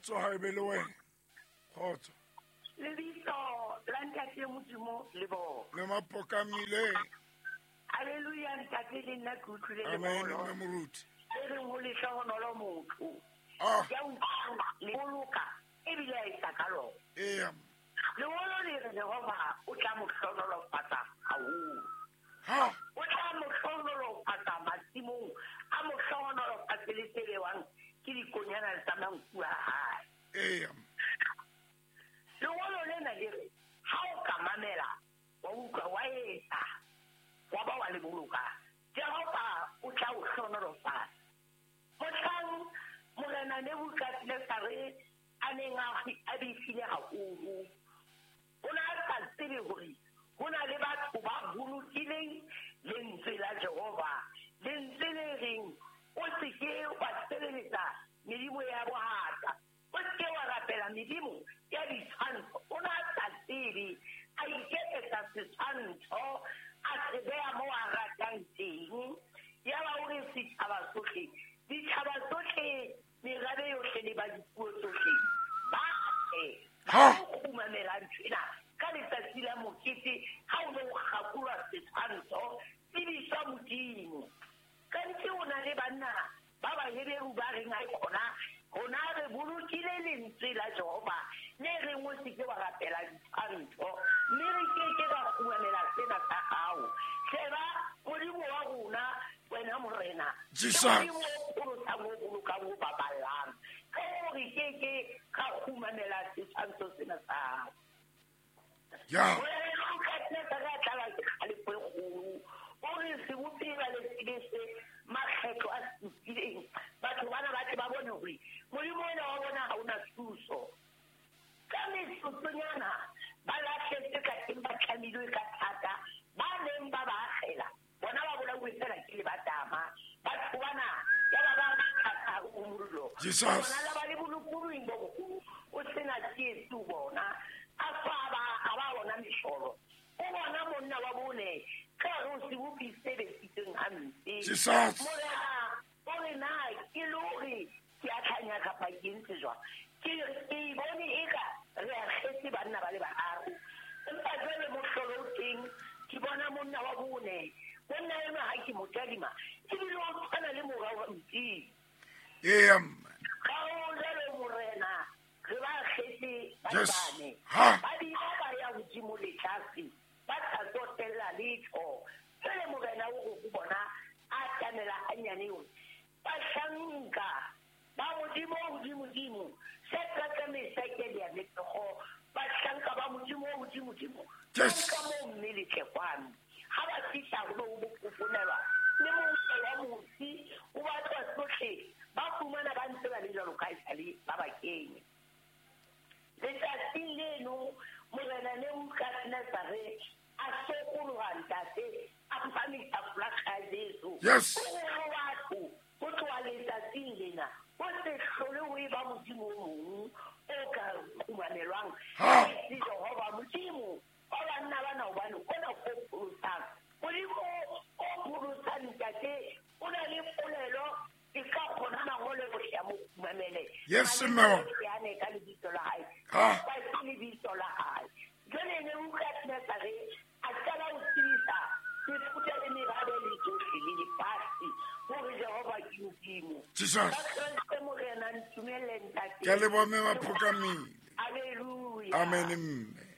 Kgotso ha e be le wena. Kgotso. Lebitso la Ntate Modimo le bo. Mme Mapokamile. Hallelujah, Ntate, le nna ke utlwile Amen, lengolo. mme Moruti. Le reng ho lehlohonolo motho. Ah. Ya utlwang le boloka ebile a etsa ka lona. Eya. Lengolo le re Jehova o tla mo hlohonolofatsa haholo. Ha. O tla mo hlohonolofatsa masimong, a mo hlohonolofatse le tse bewang ke dikonyana tsa manku a hae. Eya. Lengolo lena le re ha o ka mamela, wa utlwa, wa etsa, wa ba wa le boloka, Jehova o tla o hlohonolofatsa. Mohlang Morena Nebukadnezare a neng a befile haholo, o ne a sa tsebe hore ho na le batho ba bolokileng lentswe la Jehova, lentswe le reng o se ke wa sebeletsa medimo ya bohata, o se ke wa rapela medimo ya ditshwantsho. O ne a sa tsebe, a iketsetsa setshwantsho, a se beha moo a ratang teng. Yaba o re setjhaba sohle, ditjhaba tsohle, merabe yohle le ba dipuo tsohle, ba tle, ba Ha. tlo kgumamela nthwena ka letsatsi la mokete ha o ne o kgakolwa setshwantsho, tsebiswa Modimo. Kanthe o na le banna ba Baheberu ba reng a khona, rona re bolokile lentswe la Jehova le reng o se ke wa rapela ditshwantsho, mme re ke ke ra kgumamela sena sa hao. Sheba Modimo wa rona, wena Morena, ke Jesus. Modimo o pholosang, o bolokang, o baballang. Ka hoo re ke ke ra kgumamela setshwantsho sena sa hao. Ya. Morena o ka tla re tlala ke kgalefo e kgolo. O re sebopi ba le tsebise makgetlo a supileng. Batho bana ba tle ba bone hore Modimo ona wa bona ha ona thuso. Ka metsotsonyana ba lahletswe ka teng, ba tlamilwe ka thata, ba neng ba ba akgela bona ba bolauwe fela ke lebatama. Batho bana ya ba ba thata ho mollo. Jesus. Bona la ba le bolokolohing bo boholo, o sena tsietsi ho bona. A tswa a ba, a ba bona mehlolo. O bona monna wa bone ka hare ho sebopi se besitsweng hampe. Jesus. Morena o re na ke le hore ke a tlhanya kapa ke entse jwang? Ke ke bone eka re akgetse banna ba le bararo. Empa jwale mohlolo o teng, ke bona monna wa bone. Monna enwa ha ke mo tadima, ebile o tshwana le mora wa Modimo. Eya, mme. Ka hoo jwale Morena, re ba akgetse ba Yes. bane. Ha. Ba bile ba ya hodimo le tlase, ba sa tsotella letho. Jwale Morena o re ho bona, a atamela hanyane hore bahlanka ba Modimo o hodimodimo, Shadraka, Meshake le Abednego, bahlanka ba Modimo o hodimodimo, Yes. ka moo mme le tle kwano. Ha ba fihla ho be ho bofofonelwa le mouso wa mosi, o batlwa tsohle, ba fumana ba ntse ba le jwalo ka esale ba ba kenya. Letsatsing leno, Morena Nebukadnezare a sokoloha ntate, a phahamisa folaga ya Jesu. Yes. O re ho batho, ho tloha letsatsing lena, ho se hlole ho eba Modimo o mong o ka kgumamelwang. Ha. Se Jehova Modimo wa banna bana, hobane ona o pholosang. Modimo o pholosang ntate, o na le polelo e ka kgona mangolo ohle a mo kgumamele. Yes, A le mme. yane ka lebitso la hae. Ha. Ba ke lebitso la hae. Jwale Nebukadnezare a qala ho tsebisa mefuta le merabe le tsohle le lefatshe hore Jehova ke Modimo. Jesus. Ka Kreste Morena, ntumelle ntate. Ke a leboha mme Maphokamile. Hallelujah. Amen, mme.